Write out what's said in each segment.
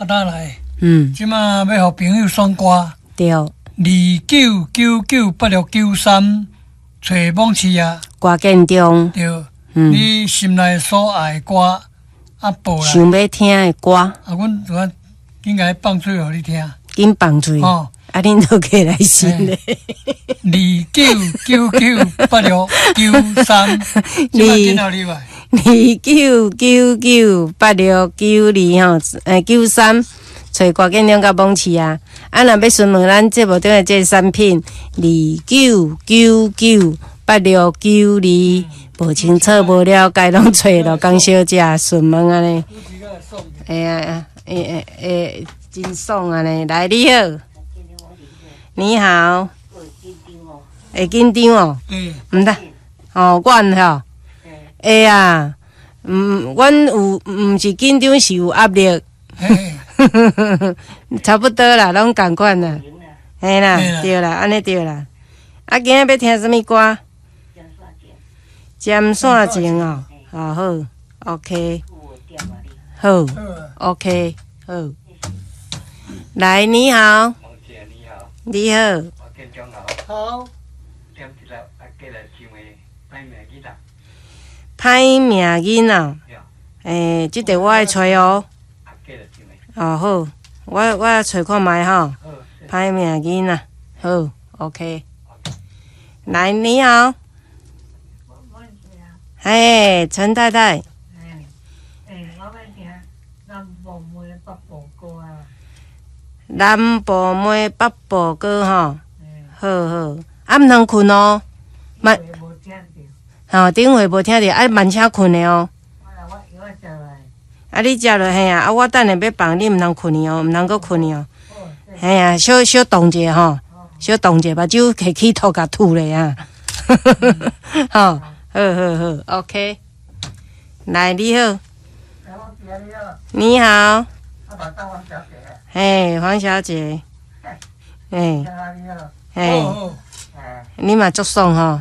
啊，打來。這馬欲予朋友選歌。29998693，揣網市啊。歌建中。對。你心內所愛的歌，啊，報來。想欲聽的歌。啊，阮就按緊共伊放喙予你聽。緊放喙。哦。啊，恁都過來先咧。29998693，這擺緊予你來。29998692吼，93，揣歌建中佮網市啊。啊，若欲詢問咱節目中的這个產品，29998692，無清楚無了解，攏揣羅江小姐詢問按呢。會啊，會會會，真爽按呢！來，你好，你好，會緊張哦？毋得，哦，阮吼，會啊，阮有，毋是緊張，是有壓力。差不多啦，攏仝款啦，嘿啦，對啦，按呢對啦。啊，今仔欲聽啥物歌？針線情哦，好好，OK，好，OK，好。來，你好，你好。好。歹命囡仔，欸，這個我愛揣哦。哦好，我揣看覓吼。歹命囡仔，好，OK。來，你好。嘿，陳太太。欸，我欲聽南部梅北部歌啊。南部梅北部歌吼，好好，啊毋通睏哦。慢。吼，頂回無聽著，啊慢車睏的哦。啊，你食落嘿啊，啊我等下欲放，你毋通睏去哦，毋通閣睏去哦。嘿啊，小小動一下吼，小動一下，目睭提起吐共吐咧啊。吼，好好好，OK。來，你好。你好。嘿，黃小姐。嘿。嘿。你嘛足爽吼。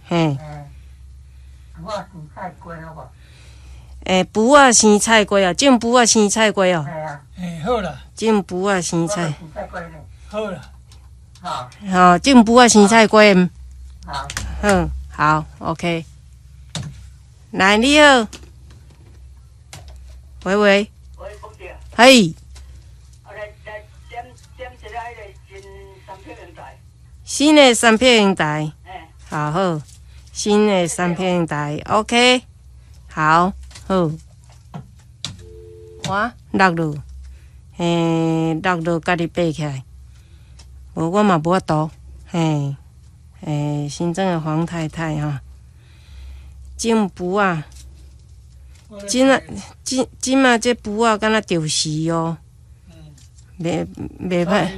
嘿。欸，匏仔生菜瓜哦，種匏仔生菜瓜哦。欸，好啦。種匏仔生菜。好啦。好，種匏仔生菜瓜。好。嗯，好，OK。來，你好。喂喂。喂，馮姐。嘿。來點點一个彼个新三片平台。新的三片平台。好好，新的三片台，OK。好，好。我落落，嘿，落落，家己爬起來。無，我嘛無法度。嘿，欸，新莊的黃太太吼，種匏仔，這啊，這這馬這匏仔敢若著時哦，袂袂歹。